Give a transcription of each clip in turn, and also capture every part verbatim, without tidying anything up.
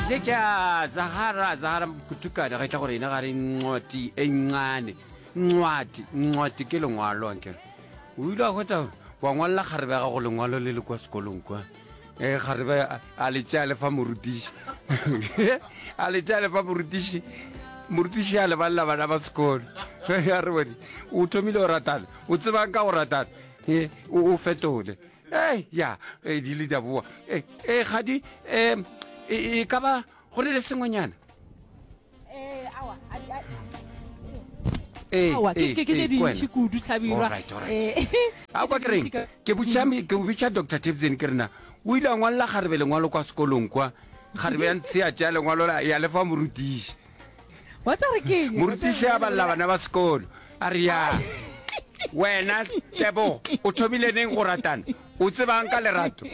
Ye ke a Zahara, Zahara Mkutukana, ga tla gore ena ga re ncwati e ncane. Ncwati, ncwati ke lengwalo ankere. O ile a hwetša wa ngwalela kgarebe ya gago lengwalo le le kwa sekolong kwa. E kgarebe a, a le tšea le fa morutiši. A le tšea le fa morutiši. Morutiši a le balela bana ba sekolo. A re bone, o thomile go ratana, o tsebang ka go ratana? E, o, o fetole. Ei, ya, e, di ile di a boa. E, e, kgadi, e, e, e ka ba go le le sengwenyana? Eh, awa, a di- a- Ee, awa, ke ee, ke- ke tše ee, ke dintši wena. kudu Hlabirwa. Alright, alright. Eh, A kwa ke reng? Ke botša me- ke bitša Doctor Tebsen ke re na o ile a ngwalela kgarebe lengwalo kwa sekolong kwa. Kgarebe ya ntshea tšea lengwalo la ya le fa morutiši. Wa tseba re ke eng? Morutiši a balela bana ba sekolo. A re ya wena Tebogo o thomile neng go ratana? O tsebang ka lerato?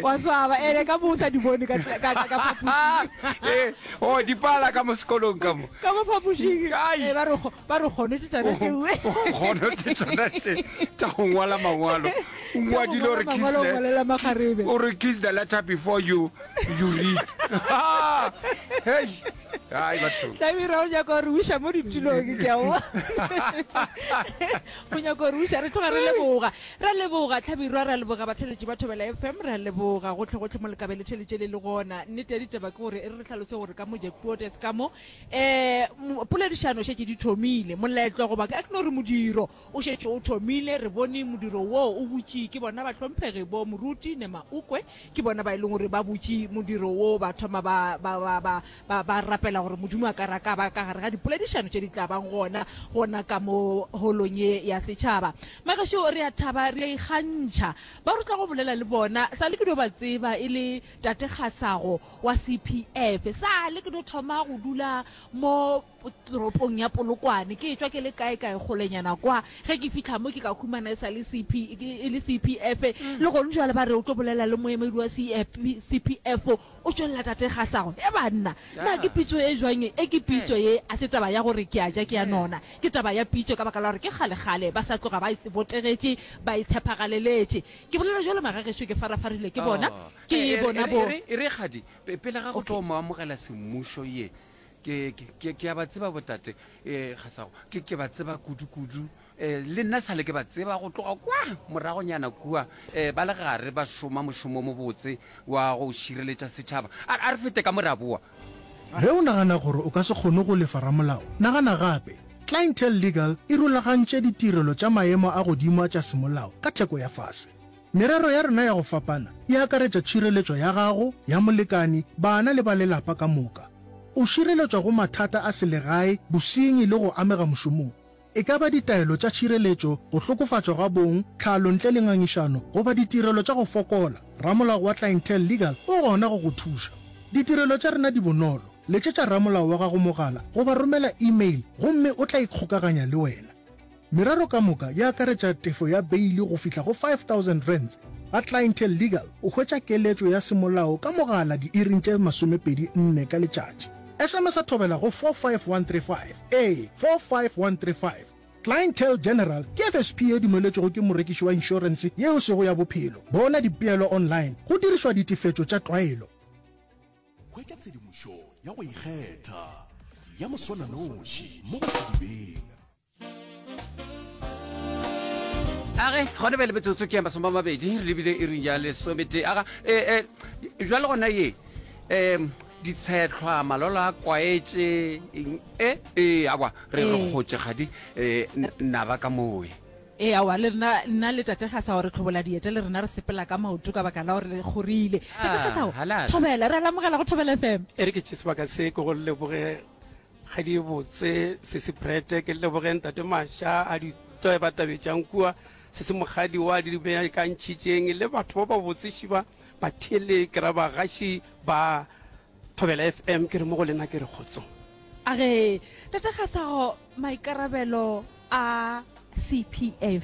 Wa swaba ene ka mo o sa di bone ka ka ka ka phapošing. Eh, oh di pala ka mo sekolong ka mo. Ka mo phapošing. Ai. Eh, ba re kgo- ba re kgonotše tšona tšeo. Kgonotše tšona tše tša go ngwala mangwalo. O ngwadile o re kiss Mangwalo o the ngwalela makgarebe. o re kiss the letter before you you read. Hey. Ai batho. Hlabirwa o nyaka go re uša mo ditulong ke a bona. O nyaka go re uša re tloga re leboga. Re a leboga Hlabirwa, re a leboga batheeletši ba Thobela F M, re a leboga gohle gohle mo le ka be le theeletše le le gona. Nnete ya ditaba ke gore e re re hlalose gore ka mo Jackpotes ka mo um poledišano šetše di thomile. Moletlo goba a ke no re modiro o šetše o thomile. Re bone modiro wo o butše ke bona bahlomphegi bo Moruti Nemaukwe, ke bona ba e leng gore ba butše modiro wo, ba thoma ba, ba, ba, ba, ba, ba rapela gore Modimo a ka re a ka ba ka gare ga dipoledišano tše di tla bang gona, gona ka mo holong ye ya setšhaba. Magešo, re a thaba, re a ikgantšha. Ba re tla go bolela le bona, sa le ke dio ba tseba e le Tate Kgasago wa C P F. Sa le ke dio thoma go dula mo toropong ya Polokwane, ke etšwa ke le kae-kae kgolenyana kwa. Ge ke fihla mo ke ka humana e sa le C P, e le C P F. Le gona bjale ba re o tlo bolela le moemedi wa C P F, o tšwelela Tate Kgasago. He banna, na ke pitšo e jwang ye? E ke pitšo ye, a se taba ya gore ke a ja ke a nona. Ke taba ya pitšo ka baka la gore ke kgale-kgale ba sa tloga ba e botegetše, ba e tshepagaleletše. Ke bolela bjalo magagešo ke farafarile ke bona, ke bona bo. E re kgadi, pele ga go tlo mo amogela semmušo ye, ke, ke, ke, ke a ba tseba botate, eh, Kgasago. Ke, ke ba tseba kudu-kudu. Eh, le nna sale ke ba tseba go tloga kwa moragonyana kua, eh, ba le gare ba šoma mošomo o mobotse wa go šireletša setšhaba. A, a re fete ka mo re a boa. Ge o nagana gore o ka se kgone go lefa ramolao, nagana gape. Clientele Legal e rulagantše ditirelo tša maemo a godimo tša semolao ka theko ya fase. Merero ya rena ya go fapana e akaretša tšhireletšo ya gago, ya molekani, bana le ba lelapa ka moka. O šireletšwa go mathata a selegae, bosenyi le go amega mošomong. E ka ba ditaelo tša tšhireletšo, go hlokofatšwa ga bong, tlhalo ntle le ngangišano, goba ditirelo tša go fokola, ramolao wa Clientele Legal o gona go go thuša. Ditirelo tša rena di bonolo, letšetša ramolao wa gago mogala goba romela email gomme o tla ikgokaganya le wena. Merero ka moka e akaretša tefo ya beili go fihla go five thousand rands. Ga Clientele Legal o hwetša keletšo ya semolao ka mogala diiring tše masomepedi nne ka letšatši. S M S-a thobela go four five one three five, ee, four five one three five. Clientele General ke F S P ye dumeletšwego ke morekiši wa inšorense ye e sego ya bophelo. Bona dipeelo online go dirišwa ditefetšo tša tlwaelo. Hwetša tshedimošo ya go ikgetha ya moswananoši mo go Sedibeng. Age, gona bjale metsotso ke ya masome a mabedi re lebile iring ya lesometee. Aga, e, e, jwale gona ye, um ditshetlhwa, malolo a kwaetše, eng, e, e, awa, re re Ee. kgotše kgadi, e, naba ka moe. Ee, aowa, le rena, nna le Tate Kgasao re hlobola dieta, le rena re sepela ka maoto ka baka la gore re kgorile. Tate Ah, Kgasao, halala. thobela, re a le amogela go Thobela F M. E re ke tše sebaka se ke go leboge Kgadi e botse, Sesi Brette, ke leboge Ntate Masha a di toebatabetšang kua, Sesi Mokgadi wa di beakantšhitšeng, le batho ba ba botse šiba batheele ke ra bagaši ba Thobela F M, ke re mo go lena ke re kgotsong. A re, Tate Kgasago, maikarabelo a C P F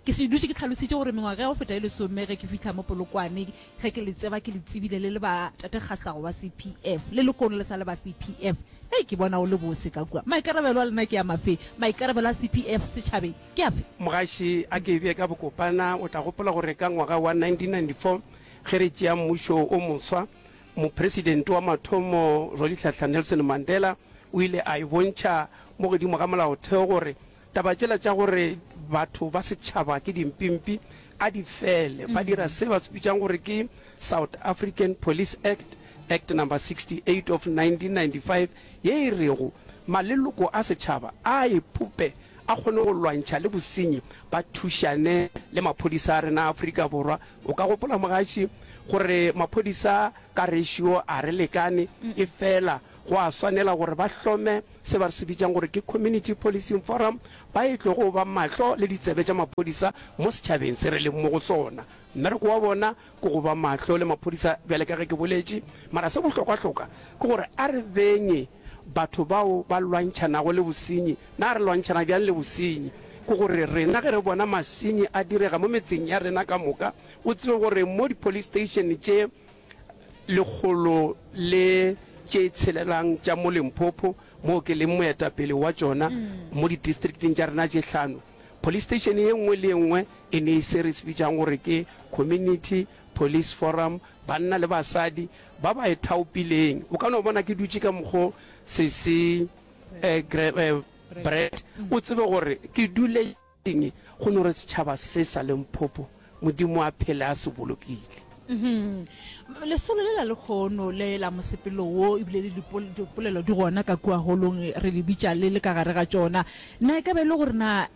Ke se dutše ke hlalositše gore mengwaga ya go feta e lesome ge ke fihla mo Polokwane, ge ke le tseba ke le tsebile le le ba Tate Kgasago wa C P F, le lehono le sa le ba C P F. Hei, ke bona o le bose ka kua. Maikarabelo a lena ke a mafe? Maikarabelo a C P F setšhabeng ke afe? Mogaši, a ke e bee ka bokopana, o tla gopola gore ka ngwaga wa nineteen ninety four ge re tšea mmušo o moswa, Mopresidente wa mathomo Rolihlahla Nelson Mandela o ile a e bontšha mo godimo ga molaotheo gore taba tšela tša gore batho ba setšhaba ke dimpimpi a di fele. Ba dira se ba se bitšang gore ke South African Police Act, Act Number sixty eight of nineteen ninety five, ye e rego maleloko a setšhaba a iphope a kgone go lwantšha le bosenyi, ba thušane le maphodisa a rena a Afrika Borwa. O ka gopola mogaši gore maphodisa ka ratio a re lekane, efela go a swanela gore ba hlome se ba se bitšang gore ke Community Policing Forum, ba e tlogo ba mahlo le ditsebe tša maphodisa mo setšhabeng se re leng mo go sona. Mmereko wa bona ke go ba mahlo le maphodisa bjale ka ge ke boletše, mara se bohlokwa-hloka ke gore a re benye batho bao ba lwantšhanago le bosenyi. Na re lwantšhana bjang le bosenyi? Ke gore rena ge re bona masenyi a direga mo metseng ya rena ka moka, o tsebe gore mo di-police station tše lekgolo le tše tshelelang tša mo Limpopo, moo ke leng moetapele wa tšona, mo di-districteng tša rena tše hlano, police station ye nngwe le ye nngwe e ne se re se bitšang gore ke Community Police Forum, banna le basadi ba ba ithaopileng. O ka no bona ke dutše ka mokgo sesi eh, eh, Brett, o tsebe gore ke dule eng, go no re setšhaba se sa Limpopo, Modimo a phele a se bolokile. Mhm. Lesolo le la lekgono le la mosepelo wo ebile le dipolelo di gona ka kua holong re le bitša le le ka gare ga tšona. Na e ka ba e le gore na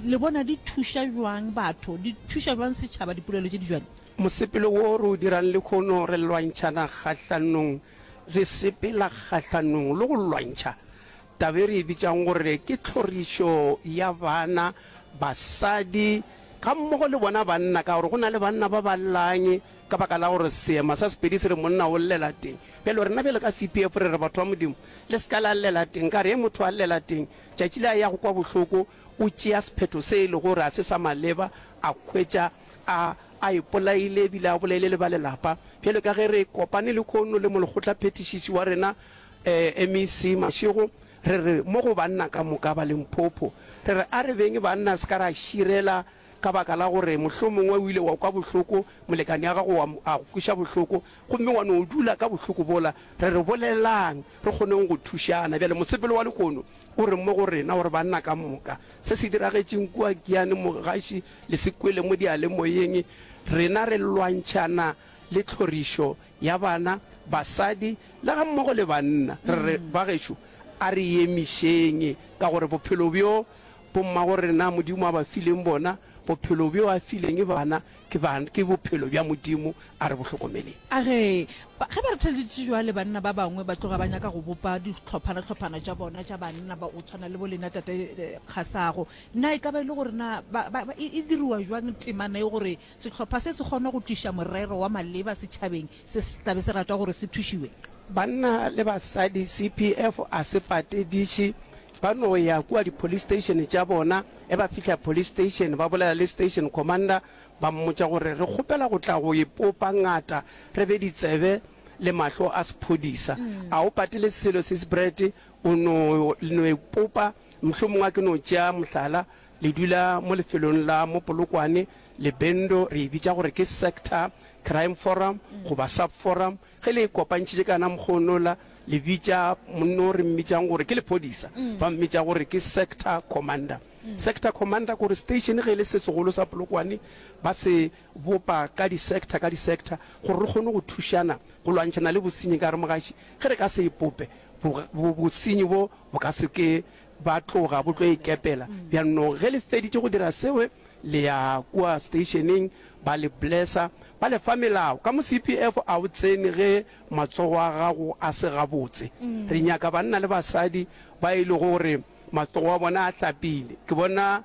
le bona di thuša bjang batho, di thuša bjang setšhaba dipolelo tše di bjalo? Mosepelo wo re o dirang lekgono re lwantšhana kgahlanong, re sepela kgahlanong le go lwantšha taba e re e bitšang gore ke tlhorišo ya bana, basadi gammogo le bona banna, ka gore go na le banna ba ba llang ka baka la gore seema sa Sepedi se re monna o llela teng. Bjalo rena bjalo ka C P F re re batho ba Modimo le se ka la llela teng, ka re ge motho a llela teng tšatši le a yago kwa bohloko o tšea sephetho se e lego gore ga se sa maleba, a hwetša a a ipolaile ebile a bolaile le ba lelapa. Bjalo ka ge re kopane lehono le molekgotlaphethišiši wa rena M E C Mashego, re re mo go banna ka moka ba Limpopo, re re a re beng banna se ka ra širela ka baka la gore mohlomongwe o ile wa kwa bohloko, molekane ya gago wa a go kweša bohloko, gomme wa no dula ka bohloko bola. Re re bolelang, re kgoneng go thušana. Bjale mosepelo wa lehono o re mo go rena gore banna ka moka, se se diragetšeng kua Giyani, Mogaši le se kwele mo diyalemoyeng, rena re lwantšhana le tlhorišo ya bana, basadi le gammogo le banna. Re re, bagešo, a re emišeng, ka gore bophelo bjo bommago rena Modimo a ba fileng bona, bophelo bjo a fileng bana, ke ba, ke bophelo bja Modimo, a re bo hlokomeleng. A re, Ge ba re theleditše bjale, banna ba bangwe ba tloga ba nyaka go bopa dihlophana-hlophana tša bona tša banna ba go tshwana le bo lena Tate Kgasago. Na e ka ba e le gore na ba, ba, ba, e, e diriwa bjang temana ye gore sehlopha se se kgone go tliša morero wa maleba setšhabeng se se tla be se rata gore se thušiwe? Banna le basadi, C P F a se patediše, ba no ya kua di-police station tša bona. Ge ba fihla police station, ba bolela le station commander, ba mmotša gore re kgopela go tla go ipopa ngata, re be ditsebe le mahlo a sephodisa. A o patele selo sis Brett, o no, le no ipopa. Mohlomongwe a ke no tšea mohlala, le dula mo lefelong la mo Polokwane, Lebendo, re e bitša gore ke sector crime forum goba sub forum. Ge le e kopantšhitše ka yona mokgonola, le bitša monna o re mmitšang gore ke lephodisa, ba mmitša gore ke sector commander. Sector commander ke gore station ge e le se segolo sa Polokwane, ba se bopa ka di-sector ka di-sector gore re kgone go thušana go lwantšhana le bosenyi. Ka re mogaši, ge re ka se ipope, bo, bo, bosenyi bo bo ka se ke ba tloga bo tlo ikepela. Bjanong ge le feditše go dira seo, le ya kua stationeng, ba le blessa, ba le fa melao. Ka mo C P F a o tsene ge matsogo a gago a se gabotse. Re nyaka banna le basadi ba e lego gore matsogo a bona a hlapile. Ke bona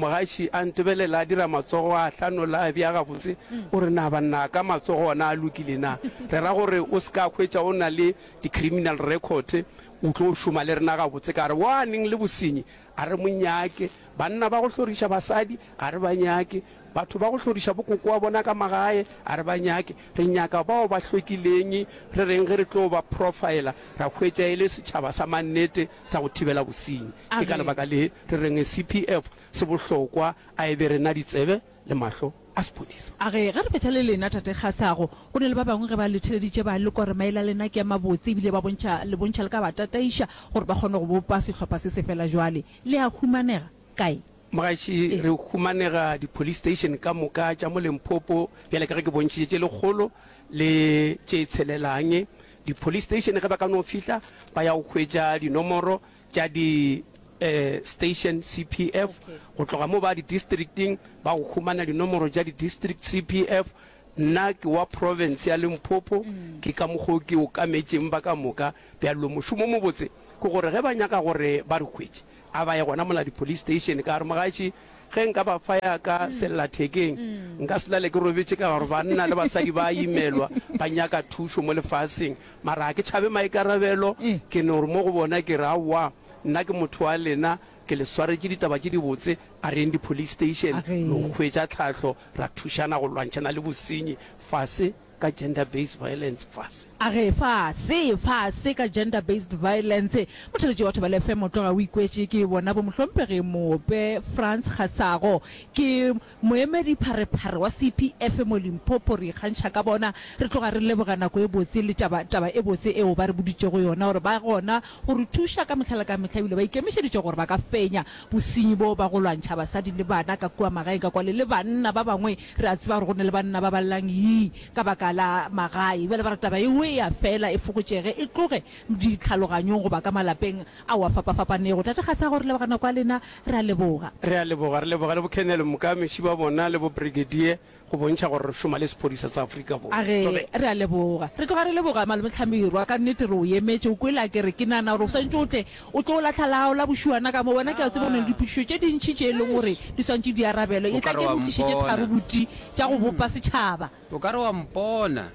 mogaši a ntebelela a dira matsogo a hlanola a bea gabotse, o re na banna ka matsogo ona a lokile na? Re ra gore o se ka hwetša o na le di-criminal record, o tlo šoma le rena gabotse. Ka re wa neng le bosenyi a re mo nyake, banna ba go hloriša basadi ga re ba nyake, batho ba go hloriša bokoko wa bona ka magae a re ba nyake. Re nyaka bao ba hlwekileng, re reng ge re tlo ba profiler ra hwetša e le setšhaba sa mannete sa go thibela bosenyi. Ke ka lebaka le re reng C P F se bohlokwa, a e be rena ditsebe le mahlo a sephodisa. A re, Ge re fetša le lena, Tate Kgasago, go na le ba bangwe ge ba le theleditše ba lekwa gore maele a lena ke a mabotse ebile ba bontšha, le bontšha le ka ba tataiša gore ba kgone go bopa sehlopha se se fela jwale. Le a humanega kae? Mogaši, Ee. re humanega di-police station ka moka tša mo Limpopo, bjale ka ge ke bontšhitše tše lekgolo le tše tshelelang. Di-police station ge ba ka no fihla ba ya go hwetša dinomoro tša di eh, station C P F. Okay. Go tloga mo ba di-districting ba go humana dinomoro tša di-district C P F. Nna ke wa province ya Limpopo, ke ka mokgo ke okametšeng ba ka moka. Bjalo mošomo o mobotse ke gore ge ba nyaka gore ba re hwetše, a ba ye gona mola di-police station, ka gore mogaši ge nka ba fa ya ka sellathekeng nka se lale ke robetše, ka gore banna le basadi ba imelwa, ba nyaka thušo mo lefaseng. Mara ga ke tšhabe maikarabelo, ke no re mo go bona ke re aowa, nna ke motho wa lena, ke le swaretše ditaba tše dibotse, a reng di-police station Age. lo hwetša tlhahlo, ra thušana go lwantšhana le bosenyi. Fase ka gender based violence, fase. Age, fase, fase ka gender based violence. Motheletši wa Thobela F M o tloga o ikwetše ke bona bo mohlomphegi Moope Frans Kgasago, ke moemedi pharephare wa C P F mo Limpopo. Re ikgantšha ka bona. Re tloga re leboga nako e botse le taba, taba e botse eo ba re boditšego yona gore ba gona go re thuša ka mehla le ka mehla, ebile ba ikemišeditše gore ba ka fenya bosenyi bo ba go lwantšha basadi le bana ka kua magaeng ka kwale le banna ba bangwe. Re a tseba gore go ne le banna ba ba llang yii ka baka la magae. Bjale ba re taba eo e ya fela, e fokotšege, e tloge ditlhaloganyong goba ka malapeng ao a fapafapanego. Tate Kgasago, re leboga nako ya lena, re a leboga. Re a leboga, re leboga le bo Colonel Mokamiši ba bona le bo Brigadier go bontšha gore re šoma le sephodisa sa Afrika Borwa. Age, Thobela. re a leboga. Re tloga re leboga Malome Hlamirwa, ka nnete re o emetše. O kwele a ke re ke nagana gore o swantše o tle o tlo lahla la gago la bošuana ka mo. Wena ke a tseba o na le dipotšišo tše dintši tše e leng gore di swantše di arabelwe. O E ka tla re ke wa re o tlišetše mpona. tharo boti tša go bopa setšhaba. O ka re wa mpona.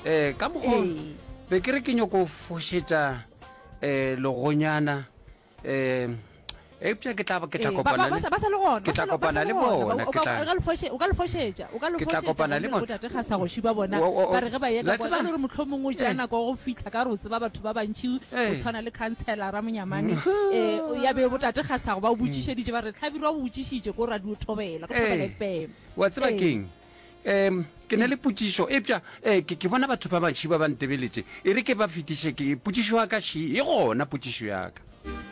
Um ka mokgo Ee. be ke re ke nyoko fošetša um legonyana, um eupša ke tla ke tla Ee, ba, ba, kopana ba le sa, ba sa le gona, ke ba tla sa le, ba kopana sa le le gona. bona O ke ka, tla o ka le foše, o ka le fošetša, o ka le ke tla fošetša kopana le gomme bona. botate Kgasagoši ba bona O- o- o- ba re ge ba ye la ka bona tseba e le gore mohlomongwe o tšea Eh. nako ya go fihla, ka gore o tseba batho ba bantši go Eh. tshwana le councillor Monyamane, um ya be botate Kgasago ba o botšišeditše ba re Hlabirwa o botšišitše ko Radio Thobela, ko Thobela Eh. F M. Wa tseba Ee. keng, um ke na le potšišo, epša um ke ke bona batho ba bantši ba ba ntebeletše, e re ke ba fetiše ke potšišo ya ka ši e gona potšišo ya ka.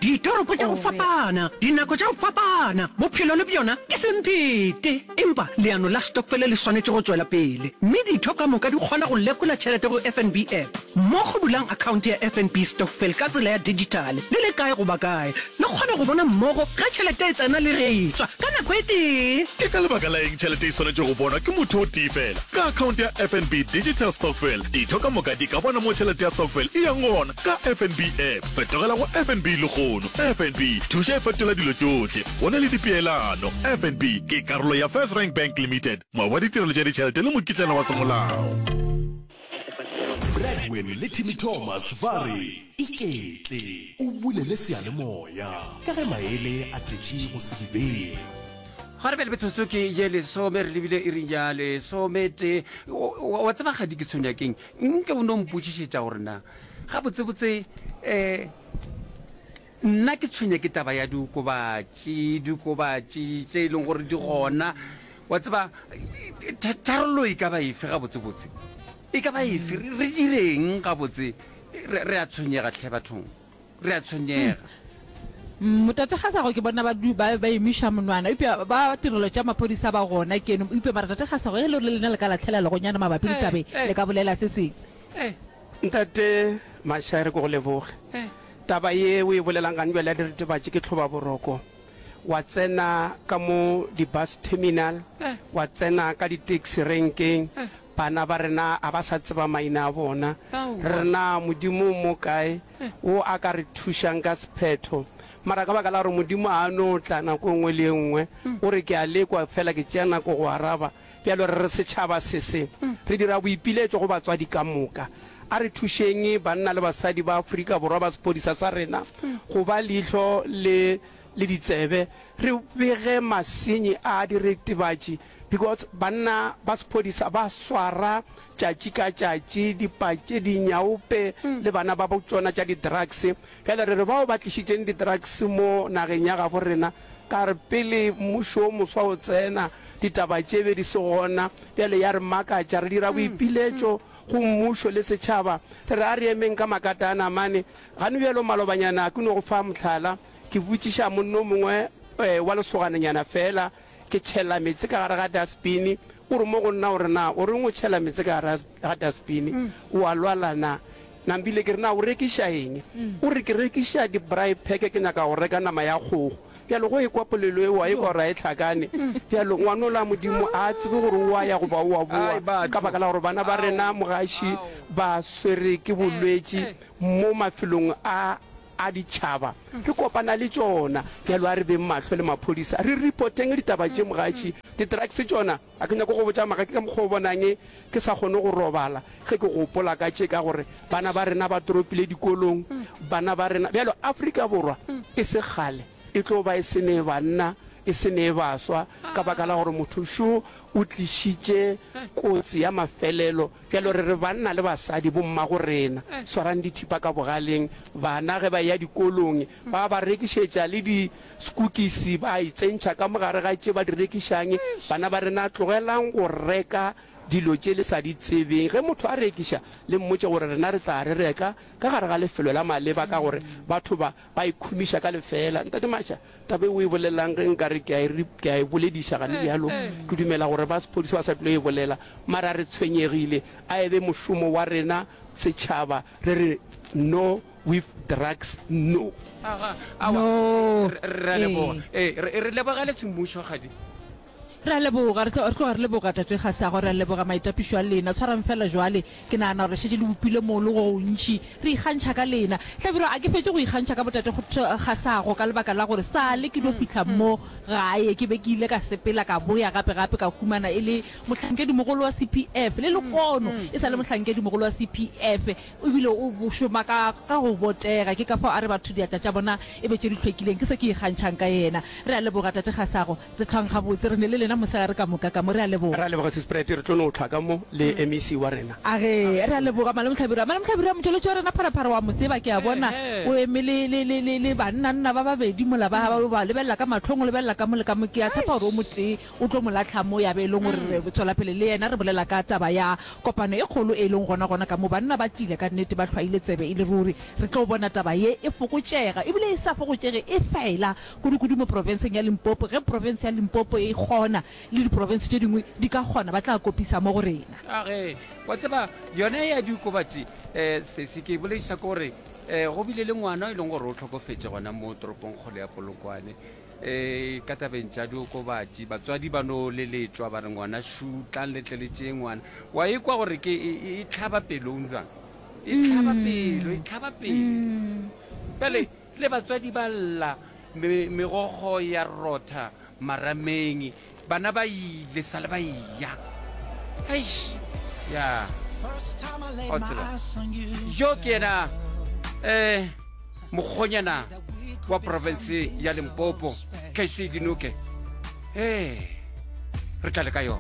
Ditoropo tša go Ore. fapana, dinako tša go fapana, bophelo le bjona ke semphete. Empa leano la stokfele le swanetše go tšwela pele, mme ditho ka moka di kgona go lekola tšhelete go F N B app. Mmogo bulang akhaonte ya F N B Stokvel ka tsela ya digitale le le kae goba kae. Le kgona go bona mmogo ge tšhelete e tsena le ge e tswa ka nako e tee. Ke ka lebaka la eng tšhelete e swanetše go bonwa ke motho o tee fela? Ka akhaonte ya F N B Digital Stokvel, ditho ka moka di ka bona mo tšhelete ya stokvel e yang gona ka F N B app. Fetogela go F N B lehono. F N B thuša e fetola dilo tšohle. Go na le dipeelano. F N B ke karolo ya First Rank Bank Limited, moabi wa ditirelo tša ditšhelete le mokitlana wa semolao. Bradwin le Timmy Thomas ba re iketle o bulele seyalemoya ka ge maele a tletše go sedibeng. Ga re bjale metsotso ke ye lesome, re lebile e reng ya lesometee. O- o- wa tseba gadi ke tshwenya keng, nke o no mpotšišetša gore na gabotsebotse um nna ke tshwenya ke taba ya diokobatši, diokobatši tše e leng gore di gona. Wa tseba tha- tharollo e ka ba efe gabotsebotse, e ka ba efe, re re direng gabotse? re re a tshwenyega tlhe bathong, re a tshwenyega. Motate Kgasago ke bona ba du ba ba emiša monwana, eupša ba tirelo tša maphodisa ba gona keno. Eupša mara tate Kgasago, ge e le gore le lena le ka lahlela legonyana mabapi le Eh, tabe, eh. le ka bolela se sengwe. Eh, Ntate Mashaere, ke go leboge. eh. Taba ye o e bolelang gane bjale ya diritibatši ke tlhoba boroko. Wa tsena ka mo di-bus terminal, Eh. wa tsena ka di-taxi renkeng, Eh. bana ba rena a ba sa tseba maina a bona. Aowa. Re na Modimo mo kae Eh. wo a ka re thušang ka sephetho? Mara ka baka la gore Modimo a no tla nako e nngwe le e nngwe, o re ke a lekwa fela ke tšea nako go araba. Bjalo re re setšhaba se se re dira boipiletšo go batswadi ka moka, a re thušeng banna le basadi ba Afrika Borwa ba sephodisa sa rena go ba leihlo le le ditsebe, re bege masenyi a diritibatši, because banna ba sephodisa ba swara tšatši ka tšatši dipatše, dinyaope le bana ba bo tšona tša di-drugs. Bjale re re bao ba tlišitšeng di-drugs mo nageng ya gabo rena, Ka re pele mmušo o moswa o tsena, ditaba tše be di se gona. Bjale ya re makatša, re dira boipiletšo go mmušo le setšhaba, re re a re emeng ka makata a namane. Gane bjalo malobanyana ke no go fa mohlala, ke botšiša monna o mongwe wa lesogananyana feela, ke tšhela meetse ka gare ga dustbin, o re mo go nna o re na o reng o tšhela meetse ka gare ga dustbin, o a lwala na? Nambile ke re na o rekiša eng? O re ke rekiša di braai pack ke nyaka go reka nama ya kgogo. Bjalo go ekwa polelo eo a ekwa gore a e hlakane. Bjalo ngwanola Modimo a a tsebe gore o a ya goba o a boa ka baka la gore bana ba rena mogaši ba swere ke bolwetši mo mafelong a a ditšhaba re kopana le tšona. Bjalo a re beng mahlo le maphodisa re reporteng ditaba tše mogaši. Di drugs tšona a ke nyake go botša maka ke ka mokgwa o bonang ke sa kgone go robala ge ke gopola ka tše ka gore bana ba rena ba toropile dikolong bana ba rena bjalo Afrika Borwa e se kgale e tlo ba e se ne banna e se ne baswa ka baka la gore motho šo o tlišitše kotsi ya mafelelo bjalo re re banna le basadi bommago rena swarang dithipa ka bogaleng bana ge ba eya dikolong ba ba rekišetša le di Sekukisi ba itsentšha ka mo gare ga tše ba di rekišang. Bana ba rena, tlogelang go reka dilo tše le sa di tsebeng. Ge motho a rekiša, le mmotše gore rena re tla re reka ka gare ga lefelo la maleba, ka gore batho ba ba ikhumiša ka lefeela. Ntate Masha, taba e o e bolelang ge nka re ke a e, ke a e bolediša gane bjalo, ke dumela gore ba sephodisa ba sa tlilo e bolela. Mara re tshwenyegile. A e be mošomo wa rena setšhaba re re no with drugs no. Aga, awa, No. re, re a leboga. Ee. Ee, re, re lebogele semmušo, kgadi. Re a leboga, re tlo, re tloga re leboga Tate Kgasago, re a leboga maitapišo a lena. Tshwarang feela jwale, ke nagana gore šetše le bopile molo go gontši. Re ikgantšha ka lena. Hlabirwa, a ke fetše go ikgantšha ka boTate Kgasago ka lebaka la gore sale ke dio fihla mo gae ke be ke ile ka sepela ka boya gape gape ka humana e le mohlankedimogolo wa C P F le lekono e sa le mohlankedimogolo wa C P F ebile o šoma ka ka go botega. Ke ka fao a re batho diatla tša bona e be tše di hlwekileng. Ke se ke ikgantšhang ka yena. Re a leboga Tate Kgasago. Re hlwang gabotse. Re ne le lena mosegare ka moka ka mo. Re a leboga. Re a leboga Sis Brett, re tlo no hlwa ka mo le M E C wa rena. A ge, re a leboga Malome Hlabirwa. Malome Hlabirwa, motšweletši wa rena Pharapara wa mo tseba, ke a bona o eme le, le, le, le, le bannanna ba babedi mola ba, ba, ba lebelela ka mahlong, o lebelela ka mo le ka mo. Ke a tshepa gore o motee o tlo mo lahla mo ya be e leng gore re tswela pele le yena re bolela ka taba ya kopano e kgolo e leng gona gona ka mo. Banna ba tšile ka nnete, ba hlwaile tsebe e le ruri. Re tlo bona taba ye e fokotšega, ebile e sa fokotšege e fela, kudu-kudu mo profenseng ya Limpopo. Ge profense ya Limpopo e kgona, le diprofense tše dingwe di ka kgona, ba tla kopisa mo go rena. A ge, wa tseba, yona ya diokobatši, um sesi, ke e bolediša ke gore um go bile le ngwana e leng gore o hlokofetše gona mo toropongkgolo ya Polokwane. Um ka tabeng tša diokobatši, batswadi ba no leletšwa ba re ngwana šu, tlang le tle le tšee ngwana. Wa ekwa gore ke e, e, e hlaba pelong bjang? E hlaba pelo, e hlaba pelo. Bjale le batswadi ba lla, me, megokgo ya rotha marameng, bana ba ile sa le ba eya. Eish, ya. O tseba. Yo ke yena eh mokgonyana wa province ya Limpopo, K C Dinoke. Eh, re tla le ka yona.